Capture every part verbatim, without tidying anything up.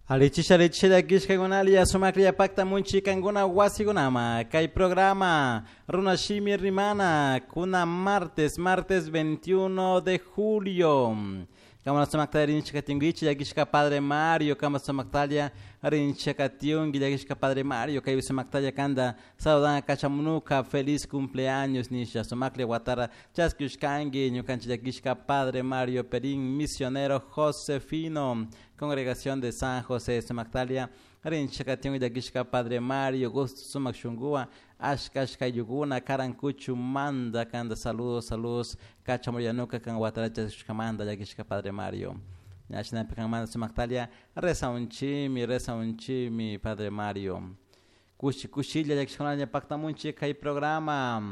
Alichisha alichisha llakishkakunalia sumaklla paktamunchi kankuna wasikunama kay programa Runa Shimi Rimana kuna martes martes veintiuno de julio kama sumakta rinchikatinkichik llakishka Padre Mario kama sumaktalla rinchikatiunki llakishka Padre Mario kaypi sumaktalla kanta saludan kachamunuka feliz cumpleaños nisha sumaklla watara chaskishkanki ñukanchik llakishka Padre Mario Perín, misionero Josefino, congregación de San José. Sumaktalia rinchikatiunki llakishka Padre Mario, gusto sumak shunkuwan ashka ashka ayllukuna Karankuchumanta kanta saludos saludos kachamullanuka kan watara chaskishkamanta llakishka Padre Mario. Ña shinapi kanmanta sumaktalla rezaunchimi rezaunchimi Padre Mario. Kushi kushilla llakishkunalla paktamunchik kay programa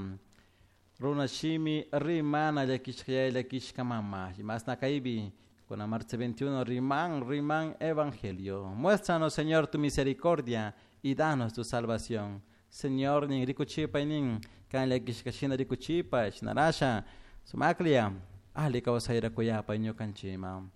Runa Shimi Rimana llakishka yaya llakishka mama imasna kaypi kuna marzo veintiuno riman riman evangelio. Muéstranos, Señor, tu misericordia y danos tu salvación. Señor nin rikuchipay nin kan llakishka shina rikuchipay shinarasha sumaklla alli kawsayra kuyapay ñukanchikman.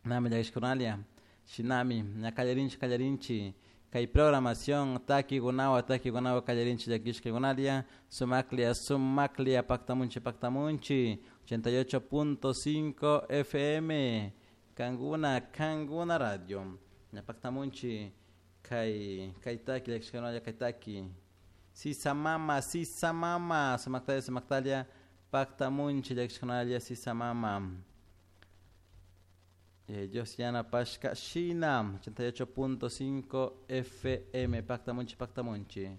Nami llakishkunalla shinami ña kallarinchik kallarinchik kay programación takikunawan takikunawan kallarinchik llakishkakunalla sumaklla sumaklla paktamunchik paktamunchik ochenta y ocho punto cinco F M kankuna kankuna radio ña paktamunchik kay kay taki llakishkakunalla kay taki Sisa Mama Sisa Mama sumaktalla sumaktalla paktamunchik llakishkakunalla Sisa Mama. Eh, Dios yanapashka shina ochenta y ocho punto cinco F M paktamunchik paktamunchik.